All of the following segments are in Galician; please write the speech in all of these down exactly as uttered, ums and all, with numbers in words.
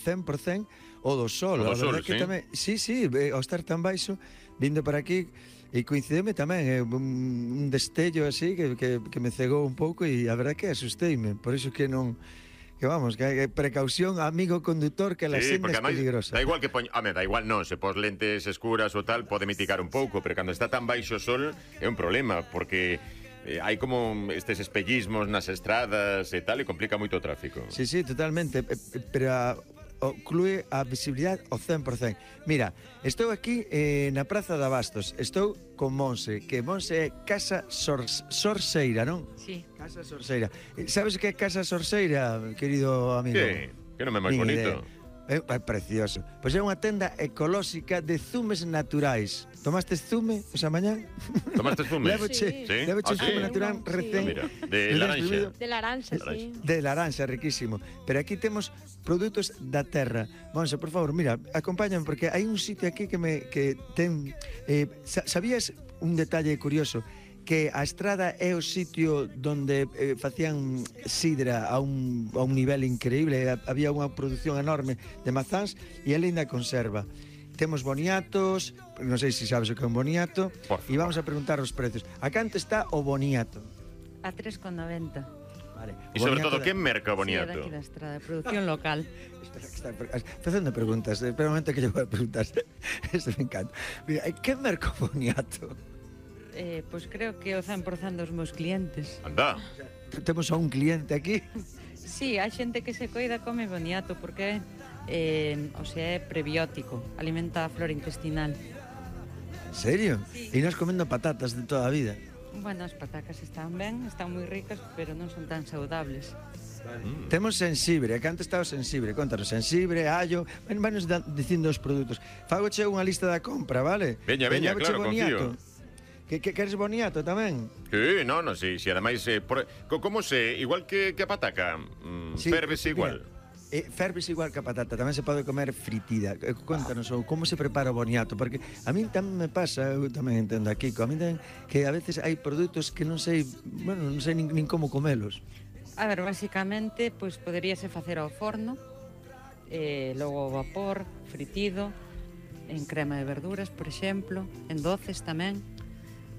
cen por cen o do sol. O do sol, que sí. Tamén, sí, sí, ao estar tan baixo, vindo para aquí, e coincideme tamén, eh, un, un destello así que, que, que me cegou un pouco e a verdad que asusteime, por iso que non... Que vamos, que hai precaución, amigo condutor, que la Sí, senda porque é ademais peligrosa. da igual que poñ, a me, da igual non, se pos lentes escuras ou tal, pode mitigar un pouco, pero cando está tan baixo o sol é un problema, porque eh, hai como estes espellismos nas estradas e tal, e complica moito o tráfico. Sí, sí, totalmente, eh, eh, pero a, oclúe a visibilidade ao cen por cen. Mira, estou aquí eh, na Praza de Abastos, estou con Monse, que Monse é Casa Sor, Sorseira, non? Sí. Casa Sorseira. Sabes que é Casa Sorseira, querido amigo? Que? Que non é máis Nin bonito? idea. É, é precioso. Pois é unha tenda ecolóxica de zumes naturais. Tomastes zume esa mañán? Tomaste zume? Levoche, Sí. levoche Ah, zume sí? natural Sí. recén. Mira, de recén laranxa. exprimido. De laranxa, sí. De laranxa, riquísimo. Pero aquí temos produtos da terra. Monse, por favor, mira, acompáñame porque hai un sitio aquí que me que ten eh, sabías un detalle curioso, que a estrada é o sitio donde eh, facían sidra a un, a un nivel increíble, había unha produción enorme de mazáns e ela ainda conserva. Temos boniatos, non sei se sabes o que é un boniato, e vamos a preguntar os precios. A canto está o boniato? A tres con noventa. Vale. E sobre todo, que merca o Sí, boniato? daqui da estrada, producción local. Espera, que está facendo preguntas, espera un momento que lle vou a preguntar. Isto me encanta. Mira, que merca o boniato? Eh, pois creo que o cen por cen dos meus clientes. Anda. Temos a un cliente aquí. Sí, hai xente que se coida come boniato porque eh, o sea, é prebiótico, alimenta a flora intestinal. En serio? Sí. E nós comendo patatas de toda a vida. Bueno, as patacas están ben, están moi ricas, pero non son tan saudables. Mm. Temos sensibre, a canto está o sensibre? Contanos, sensibre, allo, ven, vanos dicindo os produtos. Fagoche unha lista da compra, vale? Veña, veña, claro, boniato. confío. Que, que queres boniato tamén? Sí, no, no, sí, sí, ademais, eh, por, co, como se, igual que, que a pataca, mm, Sí, fervese igual. Mira, eh, ferves igual que a patata, tamén se pode comer fritida. Eh, Contanos, ou como se prepara o boniato, porque a min tamén me pasa, eu tamén entendo aquí, a min tamén, que a veces hai produtos que non sei, bueno, non sei nin, nin como comelos. A ver, basicamente, pois poderíase facer ao forno, eh, logo ao vapor, fritido, en crema de verduras, por exemplo, en doces tamén.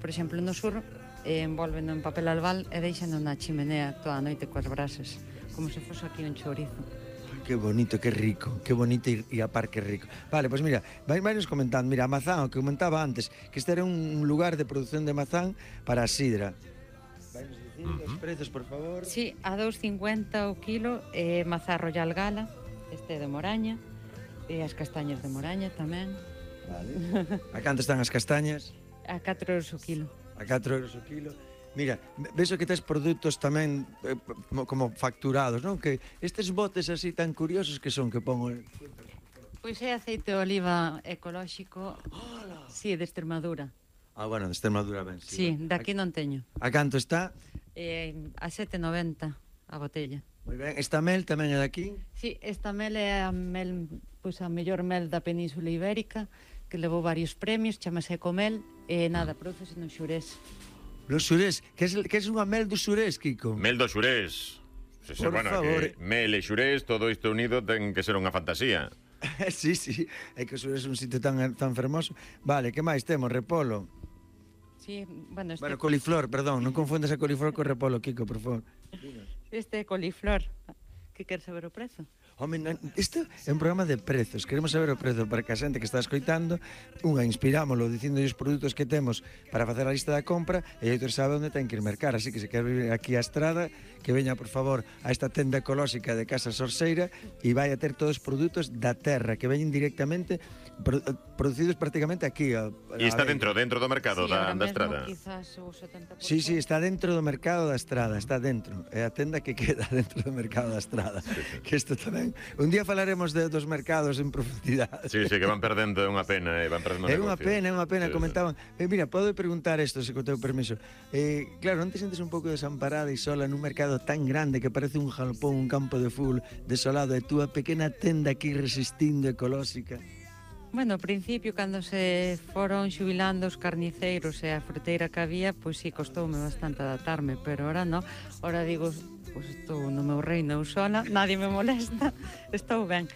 Por exemplo, no sur, eh, envolveno en papel albal e deixano na chimenea toda a noite coas brasas, como se fose aquí un chourizo. Ai, que bonito, que rico, que bonito e, e a par que rico. Vale, pois pues mira, vai, vai nos comentando, mira, a mazán, o que comentaba antes, que este era un lugar de produción de mazán para a sidra. Vai nos dicindo uh -huh. os precios, por favor. Sí, a dos cincuenta o kilo, eh, mazá Royal Gala, este de Moraña, e as castañas de Moraña tamén. Vale. A canto están as castañas? A catro euros o kilo. A catro euros o kilo. Mira, ves que tes produtos tamén eh, como facturados, non? Que estes botes así tan curiosos que son que pongo... Pois é aceite de oliva ecolóxico, Hola. Sí, de Extremadura. Ah, bueno, de Extremadura ben. Sí, sí, daqui non teño. A canto está? Eh, a sete noventa a botella. Moi ben, esta mel tamén é daqui? Sí, esta mel é a mel, pois a mellor mel da Península Ibérica, que levou varios premios, chamase Ecomel, e nada, produce no Xurés. No Xurés, que é, que é unha mel do Xurés, Kiko? Mel do Xurés. Se, se, Por bueno, favor. que mel e Xurés, todo isto unido ten que ser unha fantasía. Sí, sí, é que o Xurés é un sitio tan, tan fermoso. Vale, que máis temos? Repolo. Sí, bueno, este... Bueno, coliflor, perdón, non confundas a coliflor co repolo, Kiko, por favor. Este é coliflor. Que queres saber o prezo? Home, isto é un programa de prezos. Queremos saber o prezo para que a xente que está escoitando, unha, inspirámoslo dicindo os produtos que temos para facer a lista da compra e outro sabe onde ten que ir mercar. Así que se quer vir aquí á estrada, que veña, por favor, a esta tenda ecolóxica de Casa Sorseira e vai a ter todos os produtos da terra que veñen directamente produ producidos prácticamente aquí. A, a e está dentro, dentro do mercado sí, da, da mesmo, estrada. Quizás o setenta por Sí, ciento. sí, está dentro do mercado da estrada, está dentro. É a tenda que queda dentro do mercado da estrada. Sí, sí. Que isto tamén. Un día falaremos de, dos mercados en profundidade. Sí, sí, que van perdendo, é unha pena, eh, van perdendo É negocio. unha pena, é unha pena, sí, comentaban. Eh, mira, podo preguntar isto, se co teu permiso. Eh, claro, non te sentes un pouco desamparada e sola nun mercado tan grande que parece un jalpón, un campo de fútbol desolado, e túa pequena tenda aquí resistindo ecolóxica? Bueno, ao principio, cando se foron xubilando os carniceiros e a fruteira que había, pois sí, costoume bastante adaptarme, pero ahora non. Ahora digo, pois estou no meu reino eu sola, nadie me molesta, estou ben.